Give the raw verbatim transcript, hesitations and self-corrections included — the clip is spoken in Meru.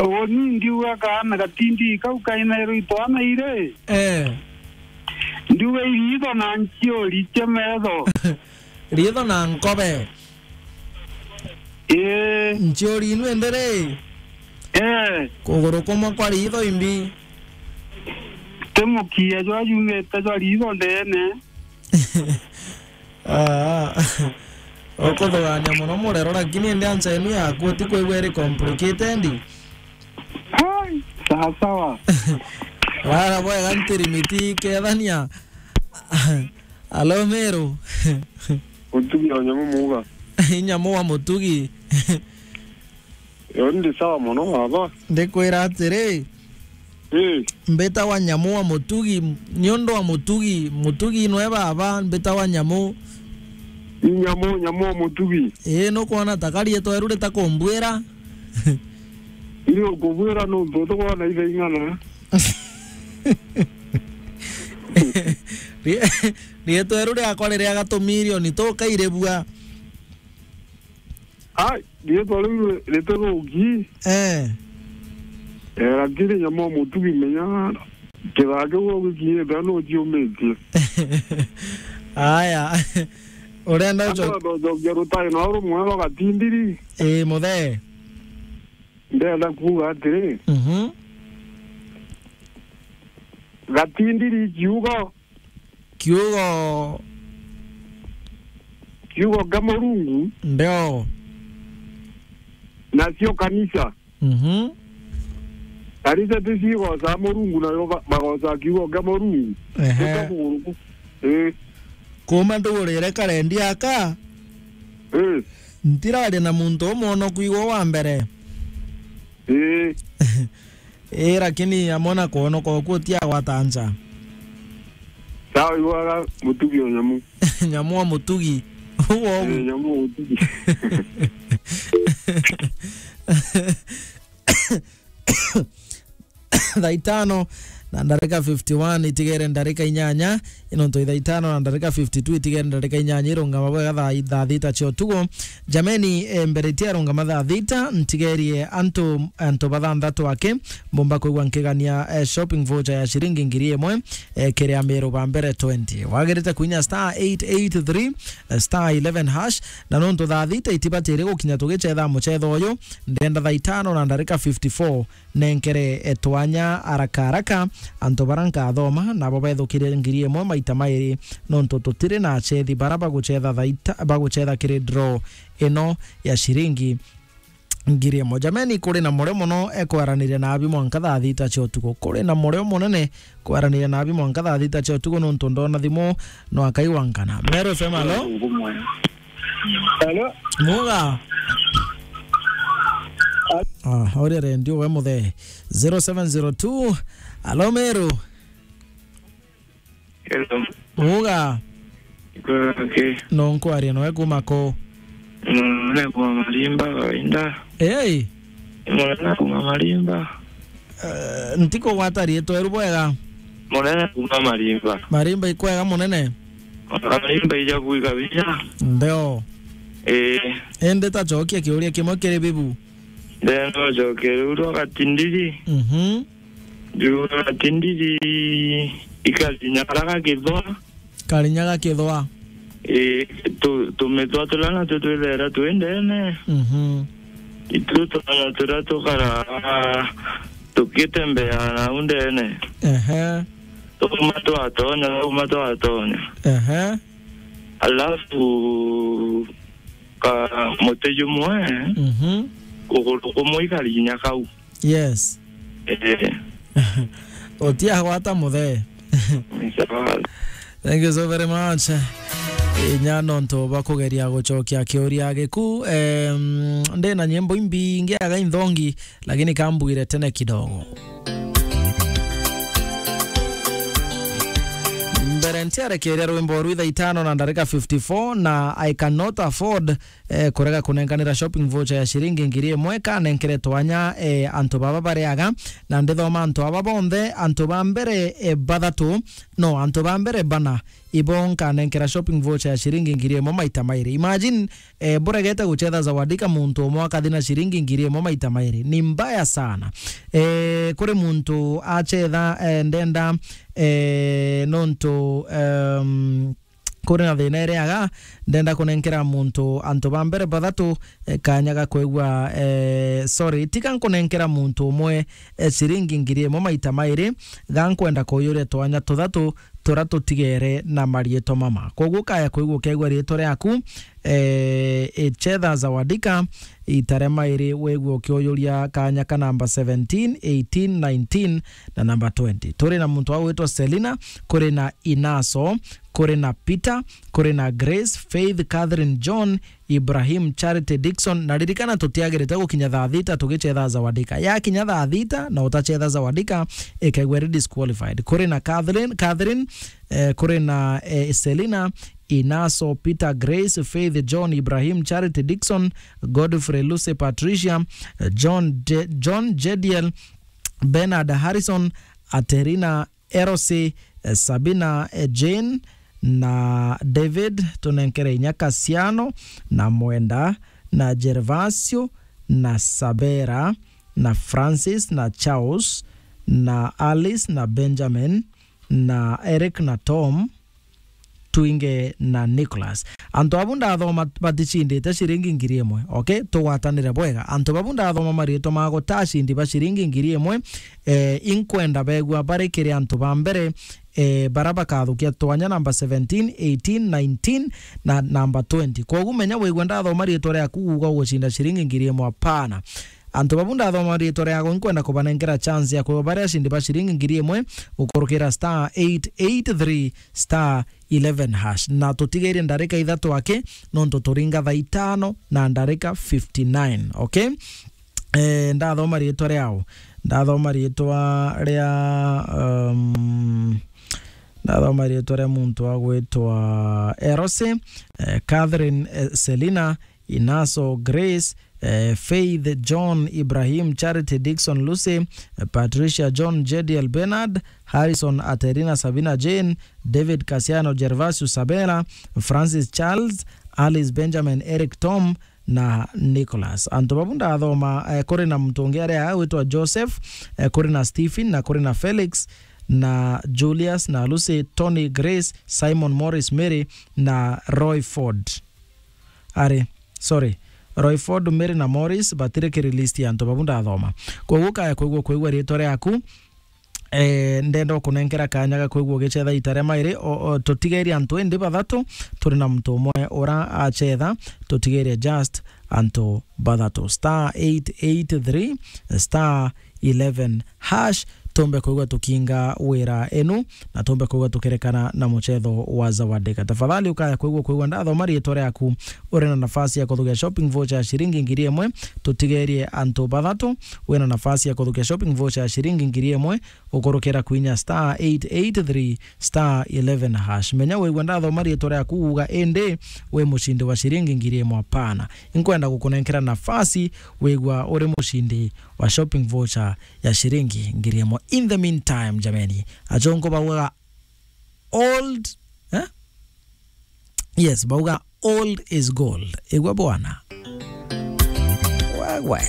Uni ndiuga kaana gatindi kau kaina iru itwana iri. Eh. Ndiuga iritho na nchiuri cia metho. Ritho na nkobe. Ii. Nchiuri inu indi ri? Eh. Kuguru kumwe kwa ritho imbi. Ti mukia jwa jumite jwa ritho ndene. Ah, ukuthugania muno murero, lakini indi ansa inu yaku utikwigua iri complicated? Hai, sawa sawa. Rara bwega ntirimiti kethania. Alo Meru. Mutugi o nyamu muuga. Nyamu wa mutugi. Yo ndi sawa muno baba. Ndikwira atiri, ii, mbitagwa Nyamu wa Mutugi, niundu wa Mutugi, Mutugi nwe baba, mbitagwa Nyamu. Ni Nyamu, Nyamu wa Mutugi. Ii, nukwona ta karietwa riu ritakumbwira? Ni ukubwira nuntu utikwona ithaing'ana. Rie-, rietwa riu riakwa riria gatumirioni tukairibua. Ai, rietwa riu ri-, ritithuki. Eh. Eh, lakini Nyamu wa Mutugi menya kithaa kiu gikinyite nuciumitie. Aya. Urenda uco- Andu ucokia rutai no rumwe rwa gatindiri. Ii, muthee. Ndenda kuuga atiri, mhm, gatindiri kiugo. Kiugo. Kiugo kia Murungu. Ndio. Nacio kanisa. Mhm. Kanisa ti cigoca Murungu, nayo ba-, bagoca kiugo kia Murungu. Ehe. Ii. Kuma ndugurire karendi aka. Ii. Ntiraria na muntu umwe ono kwigwa wa mbere. Ii. Ii, lakini amwe na kwonoka oku utiagwata ncha. Sawa, igwaga mutugi o nyamu. Nyamu o mutugi. Uguo ugu. Ii, nyamu o mutugi. Thaa itano na ndarika fifty one, itigere ndarika inyanya. Ino ntu ithaa itano na ndarika fifty two, itigere ndarika inyanya irungama bwega thaa, thaa thita cia utuku. Jameni, eh, mbere tia rungama thaa thita, ntigerie antu, antu bathanthatu aki, mbumba kwigua nkigania, eh, shopping voucher ya ciringi ngiri imwe, eh, kiri Amiru ba mbere twenty. Wagirite kuinya star eight eight three, eh, star eleven hash, na nontu thaa thita itibatiri gukinya tugicetha mucetho uyu, ndenda thaa itano na ndarika fifty four, nenkere, eh, twanya haraka haraka antu bara nkathoma nabo bethukirie ngiri imwe maita mairi, nontu tutiri na achethi bara bagucetha thaita, bagucetha kiri draw ino ya ciringi ngiri imwe. Jameni, kuri na murio muno, eh, kwaraniria nabi mwanka thaa thita cia utuku. Kuri na murio munene kwaraniria nabi mwanka thaa thita cia utuku, nontu ndona thimu no akaigwa nkana. Meru F M, alo? Hello? Muga? Ah, uria redio we muthee. Zero seven zero two. Alo, Meru? Hello. Muga? Kwake. No nkwaria noe kuma ko? Munene kuma Marimba kawaida. Hey! Munene kuma Marimba. Eh, ntiko gwata rietwa ru bwega? Munene kuma Marimba. Marimba ikwega munene? Marimba ija kuika binya. Ndio. Eh. Ende tachokia kiuria kimwe kiri bibu. Ndenda ucokia riu rwa gatindiri. Mhm. Riu rwa gatindiri ikarinya karia gakithwa. Karinya gakithwa. Ii, tu-, tumithwa turia natwo twithaira twi ndene. Mhm. Itu twana turia tukara tukitembea nau ndene. Ehe. Tuma twatonya, tuma twatonya. Ehe. Alafu ka muti jumwe, mhm, kuguru kumwe ikarinya kau. Yes. Eh. Utiagwata muthee. Ni sawa. Thank you so very much. Inya nontu bwa kugeria gucokia kiuria giku. Em, ndina nyimbo imbingi aga inthongi, lakini kambwire tene kidogo. Mbere ntiarekeria rwimbo rwi thaa itano na ndarika fifty four, na I cannot afford eh, kurega kunenkanira shopping voucher ya ciringi ngiri imwe kanenkere twanya, eh, antu baba bariaga, na ndithoma antu aba bonthe, antu ba mbere, eh, bathatu, no, antu ba mbere bana, ibo nkanenkera shopping voucher ya ciringi ngiri imwe maita mairi. Imagine, eh, buregete guchetha Zawadika, muntu umwe akathi na ciringi ngiri imwe maita mairi. Ni mbaya sana. Eh, kuri muntu achetha, eh, ndenda, eh, nontu, em, kuri na thina iri aga, ndenda kunenkera muntu, antu ba mbere bathatu, eh, kanya ga kwigua, eh, sorry, tiga nkunenkera muntu umwe, eh, ciringi ngiri imwe maita mairi, ga nkwenda kuyuria twanya tuthatu turia tutigere na mariitwa mama. Koguo kaya kwigua ukeigua riitwa riaku, eh, ichetha Zawadika, ita ria mairi wigua ukiuyuria kanya ka namba seventeen, eighteen, nineteen na namba twenty. Turi na muntu wa gwitwa Selina, kuri na Inaso, kuri na Peter, kuri na Grace, Faith, Catherine, John, Ibrahim, Charity, Dickson, na ririkana tutiagirite gukinya thaa thita tugichetha Zawadika. Yakinya thaa thita na utachetha Zawadika, ikaigua iri disqualified. Kuri na Catherine, Catherine, eh, kuri na, eh, Selina, Inaso, Peter, Grace, Faith, John, Ibrahim, Charity, Dickson, Godfrey, Lucy, Patricia, eh, John, Je-, John, Jediel, Bernard, Harrison, Aterina, Erosi, eh, Sabina, eh, Jane na David, tunenkere inya Kasiano na Mwenda na Gervasio na Sabera na Francis na Charles na Alice na Benjamin na Eric na Tom, Twinge na Nicholas. Antu abu ndathoma baticindite ciringi ngiri imwe. Okay? Tugwatanire bwega. Antu babu ndathoma mariitwa ma gutacindi ba ciringi ngiri imwe. Eh, inkwenda begua bari kiri antu ba mbere, eh, bara bakathukia twanya namba seventeen, eighteen, nineteen na namba twenty. Koguo menya wigua ndathoma riitwa riaku uga ugucinda ciringi ngiri imwe, apana. Antu babu ndathoma riitwa riago, inkwenda kubanenkera chance ya kwigua bari acindi ba ciringi ngiri imwe, ukurukira star eight eight three star eleven hash. Na tutigairie ndarika ithatu aki, nontu turinga thaa itano na ndarika fifty-nine, okay? Eh, ndathoma riitwa riao. Ndathoma riitwa ria, um, ndathoma riitwa ria muntu wa gwitwa Erose, eh, Catherine, eh, Selina, Inaso, Grace, eh, Faith, John, Ibrahim, Charity, Dickson, Lucy, eh, Patricia, John, Jediel, Bernard, Harrison, Aterina, Sabina, Jane, David, Kasiano, Gervasio, Sabela, Francis, Charles, Alice, Benjamin, Eric, Tom na Nicholas. Antu babu ndathoma, eh, kuri na muntu ungi aria agwitwa Joseph, eh, kuri na Stephen, na kuri na Felix, na Julius, na Lucy, Tony, Grace, Simon, Morris, Mary na Roy Ford. Ari, sorry, Royford, Mary na Morris batiri kiri list ya antu babu ndathoma. Koguo kaya kwigua kwigua riitwa riaku, eh, ndenda ukunenkera kanya ga kwigua ugicetha ita ria mairi, o, o, tutigerie antu indi bathatu, turi na muntu umwe ura acetha, tutigerie just antu bathatu. Star eight eight three, star eleven hash, tumbe kwigua tukinga wira enu, na tumbe kwigua tukerekana na mucetho wa Zawadika. Tafadhali ukaya kwigua, kwigua ndathoma riitwa riaku, uri na nafasi ya kuthukia shopping voucher ya ciringi ngiri imwe. Tutigerie antu bathatu, wina nafasi ya kuthukia shopping voucher ya ciringi ngiri imwe, ukurukira kwinya star eight eight three star eleven hash. Menya wigua ndathoma riitwa riaku uga indi wi mucindi wa ciringi ngiri imwe, apana. Inkwenda gukunenkera nafasi wigua uri mucindi wa shopping voucher ya ciringi ngiri imwe. In the meantime, jameni, achongo baugaga old, eh? Yes, bauga old is gold. Igua bwana. Wewe.